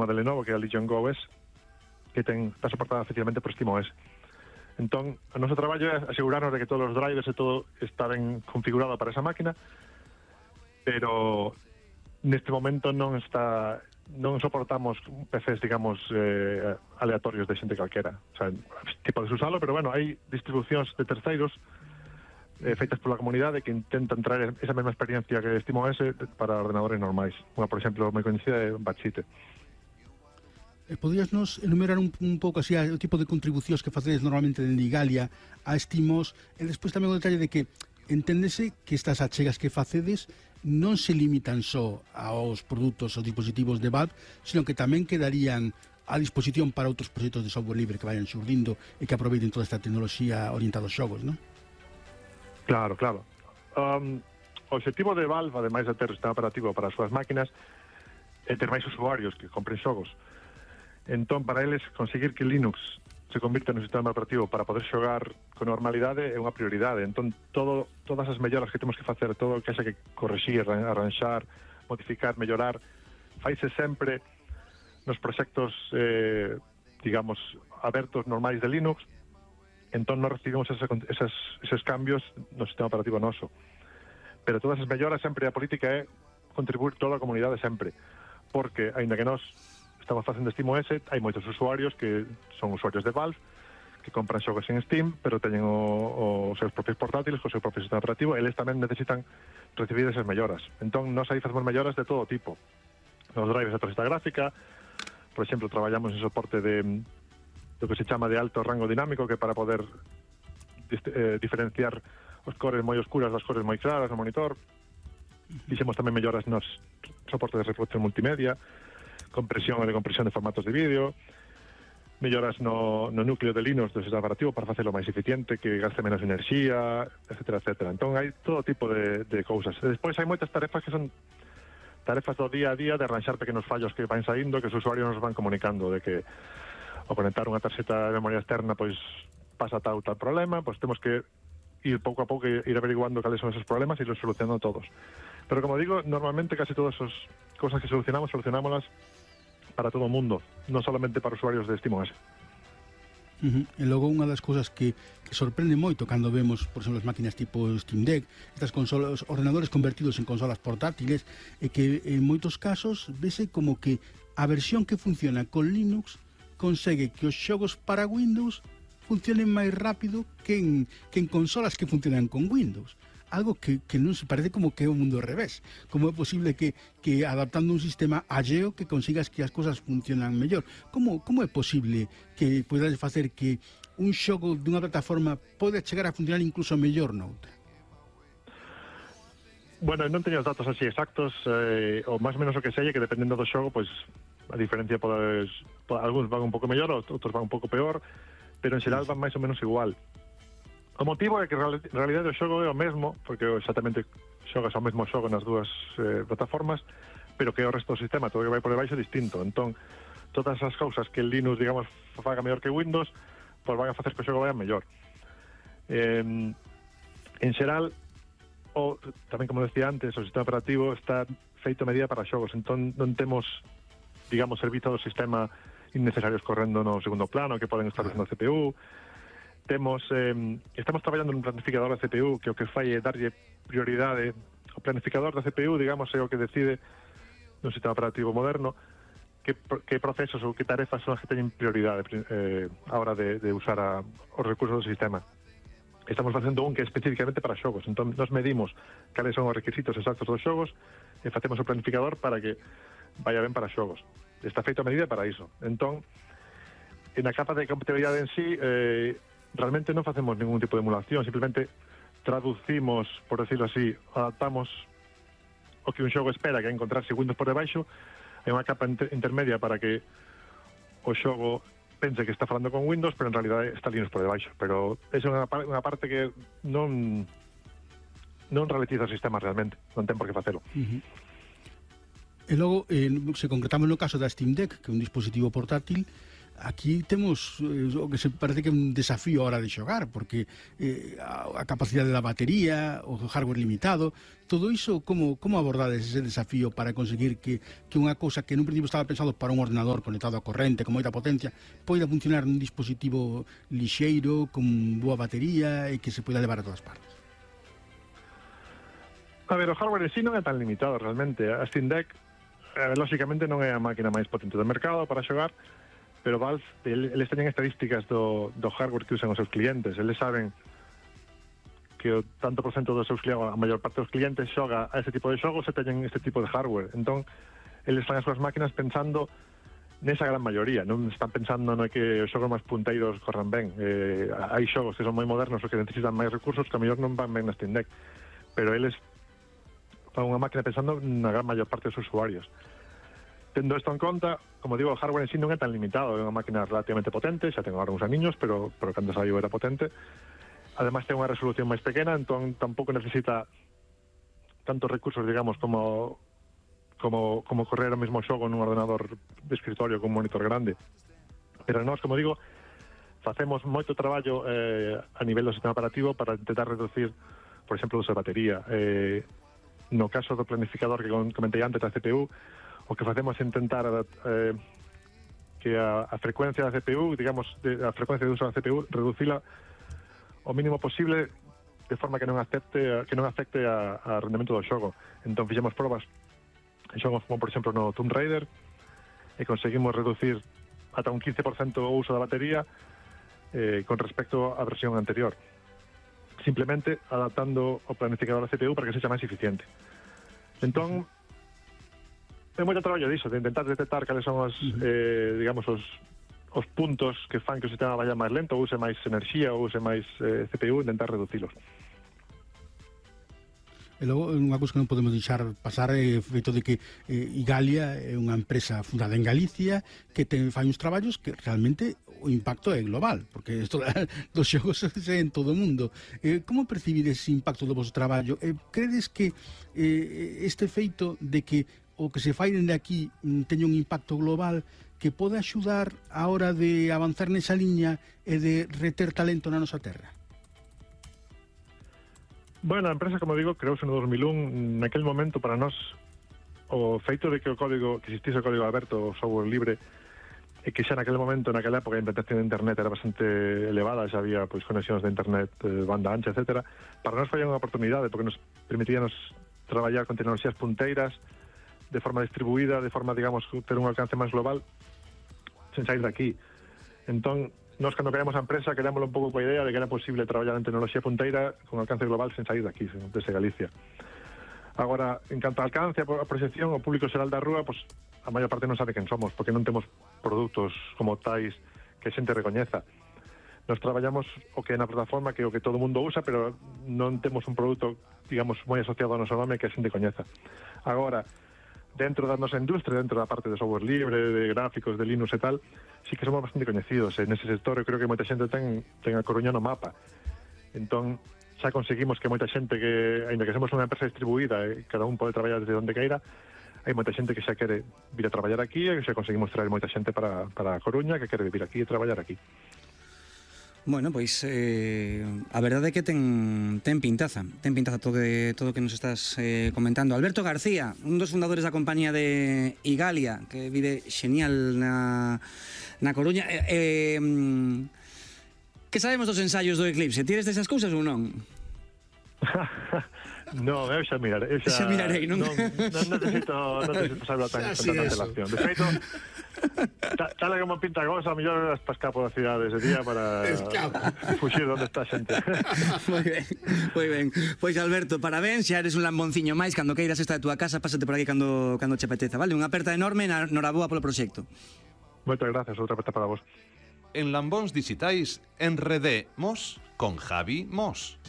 unha de Lenovo, que é a Legion Go S, que está soportada efectivamente por SteamOS. Entón, o noso traballo é asegurarnos de que todos os drivers e todo está ben configurado para esa máquina, pero neste momento non soportamos PCs, digamos, aleatorios de xente calquera. O sea, podes usalo, pero bueno, hai distribucións de terceiros feitas pola comunidade que intentan traer esa mesma experiencia que SteamOS para ordenadores normais. Unha, por exemplo, moi coñecida é Batchite. Podías nos enumerar un pouco así o tipo de contribucións que facedes normalmente dende Igalia a SteamOS, e despois tamén o detalle de que enténdese que estas achegas que facedes non se limitan só aos produtos ou dispositivos de Valve, sino que tamén quedarían a disposición para outros proxectos de software libre que vayan xurdindo e que aproveiten toda esta tecnoloxía orientada aos xogos, non? Claro. O objetivo de Valve, ademais de ter o sistema operativo para as súas máquinas, é ter máis usuarios que compren xogos. Entón, para eles, conseguir que Linux se convirta no sistema operativo para poder xogar con normalidade é unha prioridade. Entón, todas as melloras que temos que facer, todo o que haxa que corrixir, arranxar, modificar, mellorar, faise sempre nos proxectos, digamos, abertos normais de Linux. Entón, non recibimos eses cambios no sistema operativo noso. Pero todas as melloras sempre, a política é contribuir toda a comunidade sempre. Porque, aínda que nós estamos facendo SteamOS, hai moitos usuarios que son usuarios de Valve, que compran xogos en Steam, pero teñen os seus propios portátiles, co seu propio sistema operativo, e eles tamén necesitan recibir esas melloras. Entón, nós aí facemos melloras de todo tipo. Nos drivers de tarxeta gráfica, por exemplo, traballamos en soporte de do que se chama de alto rango dinámico, que para poder diferenciar os cores moi oscuras das cores moi claras no monitor. Fixemos tamén melloras nos soporte de reproducción multimedia, compresión e decompresión de formatos de vídeo, melloras no núcleo de Linux do sistema operativo para facelo máis eficiente, que gaste menos enerxía, etcétera. Entón, hai todo tipo de cousas. E despois hai moitas tarefas que son tarefas do día a día de arranxar pequenos fallos que van saindo, que os usuarios nos van comunicando de que ao conectar unha tarxeta de memoria externa pois pasa tal problema, pois temos que ir pouco a pouco ir averiguando cales son esos problemas e los solucionando todos. Pero como digo, normalmente casi todas as cosas que solucionámoslas para todo o mundo, non solamente para usuarios de SteamOS. E logo unha das cousas que sorprende moito cando vemos, por exemplo, as máquinas tipo Steam Deck, estas consolas, ordenadores convertidos en consolas portátiles, e que en moitos casos vese como que a versión que funciona con Linux consegue que os xogos para Windows funcionen máis rápido que en consolas que funcionan con Windows. Algo que non se parece como que é o mundo ao revés. Como é posible que adaptando un sistema alleo que consigas que as cosas funcionan mellor? Como é posible que podes facer que un xogo dunha plataforma pode chegar a funcionar incluso mellor noutra? Bueno, non teño os datos así exactos, ou máis ou menos o que sei é que dependendo do xogo, pois a diferencia algúns van un pouco mellor, outros van un pouco peor, pero en xeral van máis ou menos igual. O motivo é que en realidade o xogo é o mesmo, porque exactamente xogas o mesmo xogo nas dúas plataformas, pero que o resto do sistema, todo o que vai por debaixo é distinto. Entón, todas as cousas que el Linux, digamos, faga mellor que Windows, pois van a facer que o xogo vaya mellor. En xeral, tamén como decía antes, o sistema operativo está feito a medida para xogos, entón non temos, digamos, servizo do sistema innecesarios correndo no segundo plano que poden estar usando a CPU. Estamos traballando nun planificador da CPU que o que fai é darlle prioridade. O planificador da CPU, digamos, é o que decide no sistema operativo moderno que procesos ou que tarefas son as que teñen prioridade a hora de usar os recursos do sistema. Estamos facendo un que é especificamente para xogos, entón nos medimos cales son os requisitos exactos dos xogos e facemos o planificador para que vaya ben para xogos. Está feito a medida para iso. Entón, na capa de compatibilidade en sí, realmente non facemos ningún tipo de emulación, simplemente traducimos, por decirlo así, adaptamos o que un xogo espera, que é encontrarse Windows por debaixo, hai unha capa intermedia para que o xogo pense que está falando con Windows, pero en realidade está Linux por debaixo. Pero esa é unha parte que non ralentiza o sistema realmente, non ten por que facelo. E logo, se concretamos no caso da Steam Deck, que é un dispositivo portátil, aquí temos o que se parece que é un desafío a hora de xogar, porque a capacidade da batería, o hardware limitado, todo iso, como abordades ese desafío para conseguir que unha cousa que nun principio estaba pensado para un ordenador conectado a corrente, con moita potencia, poida funcionar nun dispositivo lixeiro, con boa batería e que se poida levar a todas partes? A ver, o hardware en sí non é tan limitado realmente. A Steam Deck, lógicamente, non é a máquina máis potente do mercado para xogar, pero Valve, eles teñen estadísticas do hardware que usan os seus clientes. Eles saben que o tanto por cento dos seus clientes, a maior parte dos clientes, xoga a ese tipo de xogos e teñen este tipo de hardware. Entón, eles fan as súas máquinas pensando nesa gran maioría. Non están pensando no que os xogos máis punteiros corran ben. Hai xogos que son moi modernos ou que necesitan máis recursos que a mellor non van ben na Steam Deck. Pero eles fan unha máquina pensando na gran maior parte dos usuarios. Tendo isto en conta, como digo, o hardware en sí non é tan limitado, é unha máquina relativamente potente, xa ten agora uns aniños, pero cando saiu era potente. Ademais ten unha resolución máis pequena, entón tampouco necesita tantos recursos, digamos, como correr o mesmo xogo nun ordenador de escritorio con un monitor grande. Pero nós, como digo, facemos moito traballo a nivel do sistema operativo para intentar reducir, por exemplo, o uso de batería. No caso do planificador que comentei antes da CPU, o que facemos é intentar que a frecuencia da CPU, digamos, a frecuencia de uso da CPU, reducila o mínimo posible de forma que non afecte a rendemento do xogo. Entón fixemos probas en xogos como, por exemplo, no Tomb Raider, e conseguimos reducir ata un 15% o uso da batería con respecto á versión anterior, simplemente adaptando o planificador da CPU para que sexa máis eficiente. Entón, é moito traballo diso, de intentar detectar cales son os, digamos, os puntos que fan que o sistema vaya máis lento, ou use máis enerxía, ou use máis CPU, intentar reducilos. E logo, unha cousa que non podemos deixar pasar é o feito de que Igalia é unha empresa fundada en Galicia que fai uns traballos que realmente o impacto é global, porque isto dos xogos é en todo o mundo. Como percibides ese impacto do vosso traballo? Credes que este feito de que o que se fai dende aquí teña un impacto global que pode axudar a hora de avanzar nesa liña e de reter talento na nosa terra? Bueno, a empresa, como digo, creouse no 2001. Naquel momento, para nós, o feito de que existise o código aberto, o software libre, e que xa naquele momento, naquela época, a implantación de internet era bastante elevada, xa había conexións de internet, banda ancha, etcétera. Para nós foi unha oportunidade, porque nos permitíanos traballar con tecnoloxías punteiras, de forma distribuída, de forma, digamos, ter un alcance máis global, sen sair daqui. Entón, nós, cando creamos a empresa, quedámoslo un pouco coa idea de que era posible traballar en tecnoloxía punteira con alcance global sen sair daqui, desde Galicia. Agora, en canto ao alcance, a proxección, o público xeral da rúa, pues, a maior parte non sabe quen somos, porque non temos produtos como tais que a xente recoñeza. Nos traballamos o que é na plataforma, que é o que todo mundo usa, pero non temos un produto, digamos, moi asociado ao noso nome que a xente coñeza. Agora, dentro da nosa industria, dentro da parte de software libre, de gráficos, de Linux e tal, sí que somos bastante coñecidos. En ese sector eu creo que moita xente ten a Coruña no mapa. Entón, xa conseguimos que moita xente que, ainda que somos unha empresa distribuída e cada un pode traballar desde onde queira, hai moita xente que xa quere vir a traballar aquí e que xa conseguimos traer moita xente para a Coruña que quere vivir aquí e traballar aquí. Bueno, pois a verdade é que ten pintaza todo o que nos estás comentando. Alberto García, un dos fundadores da compañía de Igalia, que vive xenial na Coruña. Que sabemos dos ensaios do Eclipse? Tires desas cousas ou non? Non, eu xa mirarei, non? Non necesito saber tan antelación. De feito, tal como pinta a cosa, a mellor hasta escapo da cidade ese día para fuxir onde está a xente. Moi ben. Pois, Alberto, parabéns, xa eres un lambonciño máis. Cando queiras esta de túa casa, pásate por aquí cando che apeteza, vale? Unha aperta enorme, noraboa polo proxecto. Moitas gracias, outra aperta para vos. En Lambóns Digitais enredemos con Javi Mos.